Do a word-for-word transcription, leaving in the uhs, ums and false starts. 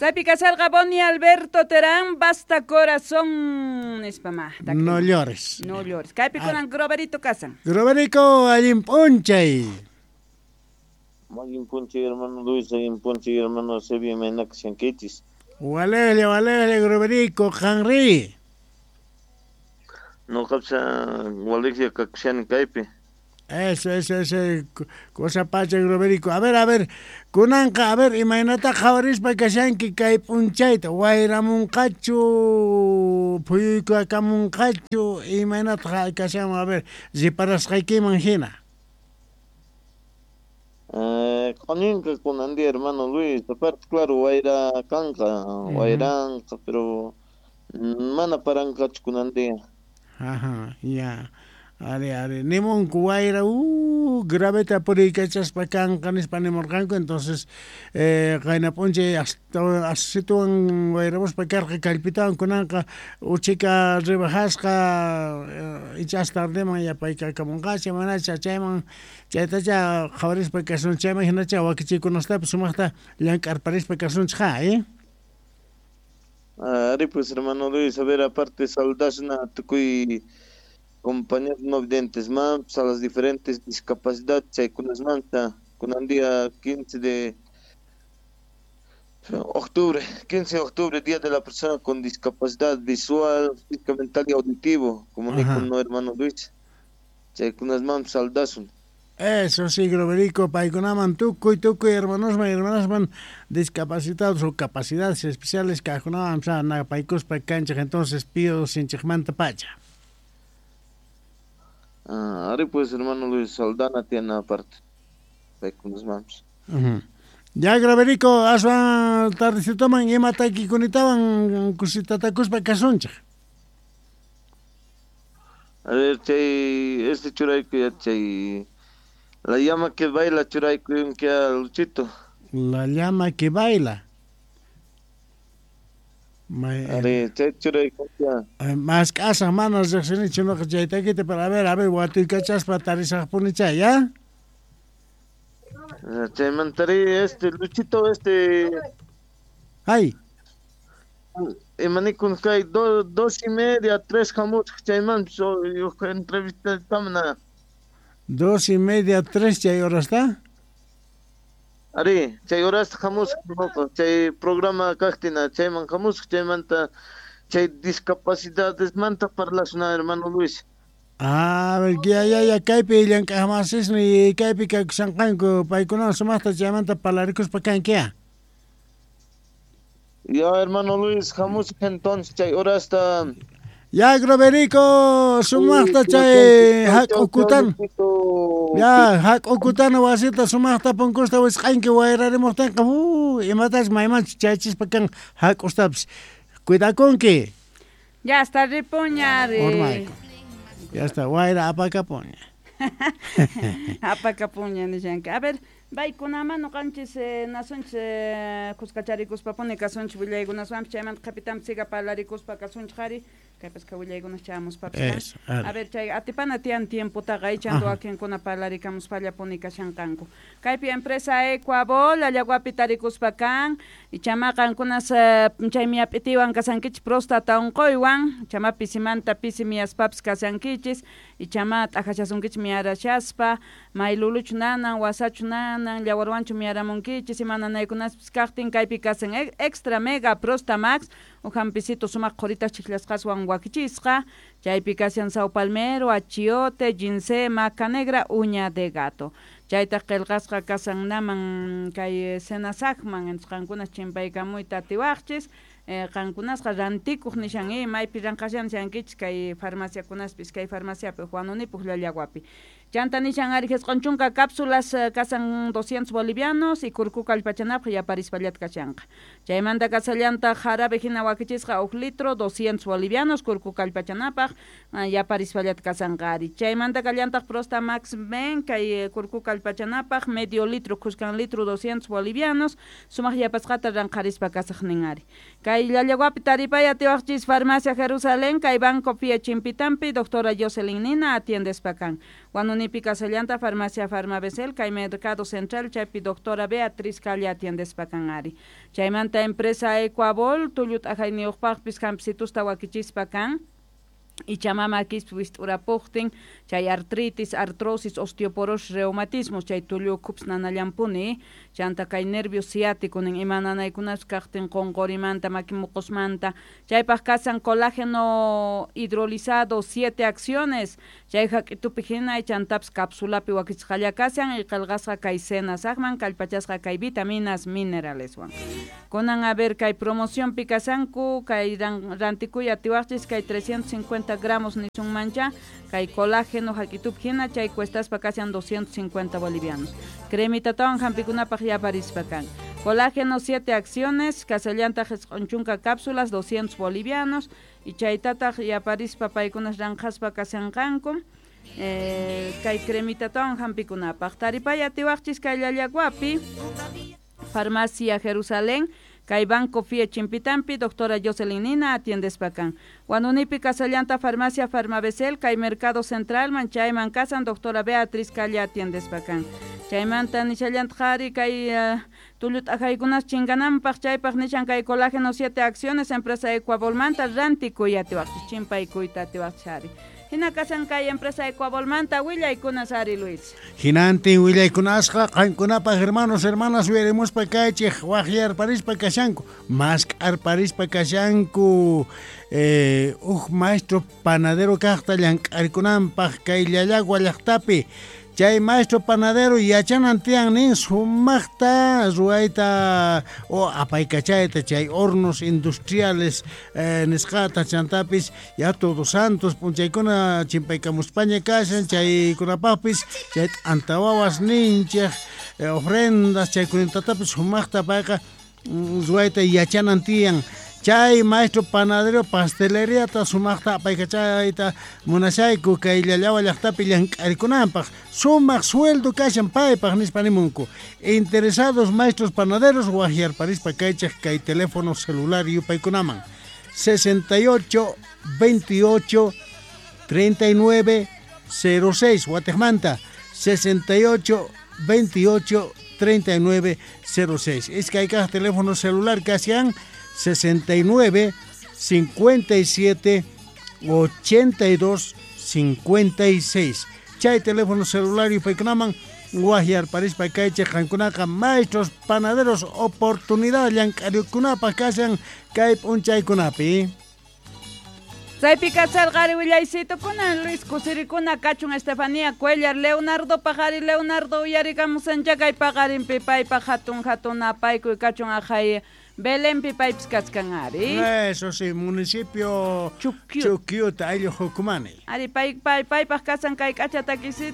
Chaypi kasarqa Boni Alberto Terán, basta corazón nispa ma. No llores. No llores. Kaypi kunan Groverito kasan. Groverico, allin p'unchay. Allin p'unchay, hermano Luis, allin p'unchay, hermano Sebia, imayna kashankichis. Walele, walele, Groverico, qanri. Nuqapis walejlla kakushani kaypi. Eso, eso, eso, cosa pacha, Groverico. A ver, a ver, kunanqa, a ver, imaynata qhawarispa kashanki kay p'unchayta, wayramunqachu, phuyuykamunqachu, imaynata kashanman, a ver, riparasqaykiman hina. Eh, q'uñinqa kunan día, hermano Luis, aparte, claro, wayra kanqa, wayranqa, pero mana paranqachu kunan día. Ajá, ya. Ari, ari, nimunku wayra, uh, graveta puriykachaspa kanqa nispa nimurqanku, entonces eh, qayna p'unchay hasta asituwan wayramuspa karqa kallpitawan kunanqa uchika rebajasqa eh, ichas tardeman yapaykakamunqacha manacha chayman chaytacha qhawarispa kasun chayman hinacha wakichikunastapis sumaqta llank'arparispa kasunchik ja, eh? Ari pues, hermano Luis, a ver, aparte saludasna tukuy compañeros no videntes más, a las diferentes discapacidades chaykunasmanta, kunan día quince de octubre, quince de octubre, Día de la Persona con Discapacidad Visual, Física, Mental y Auditivo, como dijo no hermano Luis, chaykunasman saludasun. Eso sí, Groverico, paykunaman tukuy, tukuy, hermanosman, hermanasman discapacitados o capacidades especiales kaqkunawan napaykuspa kanchik, entonces pido sinchikmanta pacha. Ah, ari pues, hermano Luis, Saldana tiene aparte. Paykunasmanpis. Uh -huh. Ya, Graverico, aswan tardecitoman ima takikuntawan kusitatakuspa kasunchik. A ver, chay, este churayku ya chay, la llama que baila churayku que Luchito. La llama que baila. Ari, chay churayku ya. Más k'asaq mana riqsinichu nuqa chay takita, pero a ver, a ver, watuykachaspa tarisaqpuni chay, ya? Chaymantari este Luchito este. Ay. Imanikun kay do, dos y media, tres hamusaq chayman so, entrevista tamna. Dos y media, tres chay horasta? Ari, chay horasta hamusaq nuqa, chay programa kaqtina chayman hamusaq chaymanta chay discapacidades manta parlasuna, hermano Luis. Ah, a ver, ya, ya, ya, kaypi llank'aqmasisni kaypi kakushanqanku paykunawan sumaqta chaymanta parlarikuspa kanki ya. Ya, hermano Luis, hamusaq entonces chay horasta. Ya, Groverico, sumaqta chay hak'ukutan. Ya, hak'ukutana wasita sumaqta punkusta wisq'anki wayrarimuqtinqa, uh, imatachus maymanchus chayachispa kan hak'ustapis. Cuidakunki. Ya está ripuña. Urmayku. Ya está, wayra apakapuña. Apakapuña nishanki. A ver, paykunaman nuqanchis eh, nasunchis eh, kuskacharikuspapuni kasunchis willaykunaswanpis chaymanta qhipitanpis siga parlarikuspa kasunchik ari kaypasqa willaykunas chamuspapis. A ver, chay atipana tiyan tiempotaqa ichanta wakinkuna parlarikamuspallapuni kashanqanku. Kaypi empresa Ecuabol Allaguapi tarikuspa kan ichama qankunas chay miyap'itiwan kasankichis próstata unquywan ichama pisimanta pisi miyaspapis kasankichis ichama t'ajachasunkichis miyarashaspa mayluluchu nanan wasachu nanan llawarwanchu miyaramunkichis ima nanaykunaspis kaqtin kaypi kasan extra mega prosta max uhampisito sumaq qhurita chiklasqaswan wakichisqa chaypi kashan sao palmero, achiote, ginseng, maca negra, uña de gato. Chaytaq qillqasqa kasan naman kay senasaqman entonces qankunas chimpaykamuyta atiwaqchis eh, qankunasqa rantikuq nishan eh, maypi ranqashan nishankichis kay farmaciakunaspis kay farmaciapi Juanunipuq Llallaguapi. Chanta nishan ari jisq'un chunka cápsulas kasan doscientos bolivianos y kurku kallpachanapaq yaparispallata kashanqa. Chaymanta kasallantaq jarabe hina wakichisqa huk litro doscientos bolivianos kurku kallpachanapaq yaparispallata kasanqa ari. Chaymanta kallantaq Prosta Max Ben kay kurku kallpachanapaq medio litro kuskan litro doscientos bolivianos sumaq yapasqata ranqarispa kasaq nin ari. Kay Kay Llallaguapi taripay atiwaqchis Farmacia Jerusalén, kay Banco Fie Chimpitampi, doctora Jocelyn Nina atiendespa kan. Huanunipi kasallanta Farmacia Farmabesel, kay Mercado Central, chaypi doctora Beatriz Calle atiendespa kan ari. Chaymanta empresa Ecuabol, tullut ajayniyuqpaqpis hampsitusta wakichispa kan. Ichamama quispi wist'urapuqtin, chay artritis, artrosis, osteoporosis, reumatismo, chay tullu ukhups nanallampuni, chanta kay nervio ciático nin ima nanaykunas kaqtin qunqurimanta, maki muqusmanta, chaypaq kasan colágeno hidrolizado, siete acciones, chay hak'itupi hina chantapas cápsulapi wakichisqalla kashan y qillqasqa kay saqman, kallpachasqa kay vitaminas, mineraleswan. Kunan a ver kay promocionpi kasanku, kay rantikuy atiwaqchis kay trescientos cincuenta gramos nisunmancha, kay colágeno hak'itupi hina chay cuestaspa kashan doscientos cincuenta bolivianos. Cremitatawan hampikunapaq yaparispa kan. Colágeno siete acciones, kasallantaq isq'un chunka cápsulas, doscientos bolivianos, y chaytataq yaparispa paykunas ranqhaspa kashanqanku. Eh, kay cremitatawan hampikunapaq. Taripay atiwaqchis kay Llallaguapi, Farmacia Jerusalén, kay Banco Fie Chimpitampi, doctora Jocelyn Nina atiendespa kan. Huanunipi kasallanta Farmacia Farmabesel, kay Mercado Central, man chayman kasan, doctora Beatriz Calle atiendespa kan. Chaymanta nishallanta qhari kay uh, tullut ajaykunas chingananpaq, chaypaq nishan kay colágeno siete acciones, empresa Ecuabolmanta, rantikuy atiwaqchis, chimpaykuyta atiwaqchis ari. Hina kasan kay empresa Ecuabolmanta willaykunas ari Luis. Hinantin willaykunasqa qankunapaq hermanos, hermanas uyarimuspa kaychik waqyarparispa kashanku, mask'arparispa kashanku, eh, uj maestro panadero kaqta llank'arikunanpaq kay Llallagua llaqtapi. Chay maestro panadero yachanan tiyan nin sumaqta ruwayta o apaykachayta chay hornos industriales eh, nisqata chantapis ya Todos Santos p'unchaykuna chimpaykamuspaña kashan chaykunapaqpis chay t'antawawas ninchik eh, ofrendas chaykunatatapis sumaqta payqa ruwayta yachanan tiyan. Chay maestro panadero pasteleriata sumaqta apaykachayta munashayku kay Llallagua llaqtapi llank'arikunanpaq sumaq sueldo kashan paypaq nispa nimunku. Interesados maestros panaderos waqyarparispa kaychik kay teléfono celular yupaykunaman sesenta y ocho, veintiocho, treinta y nueve, cero seis Guatemala sesenta y ocho, veintiocho, treinta y nueve, cero seis. Es que hay cada teléfono celular que hacían sesenta y nueve, cincuenta y siete, ochenta y dos, cincuenta y seis. Chay teléfono celular y paykunaman waqyarparispa kaychik qankunaqa maestros panaderos oportunidad llank'arikunapaq kashan kay p'unchaykunapi. Chaypi kasarqari willaysitukuna Luis kusirikuna kachun Estefanía Cuellar Leonardo paqari Leonardo uyarikamusancha kay paqarinpi paypaq hatun hatun apaykuy kachun aqhay Belenpi paypis kachkan ari. Eso sí, municipio Chuquiuta, Chuquiuta ayllu Jucumani. Ari pay pay paypaq kasan kay k'acha takisitu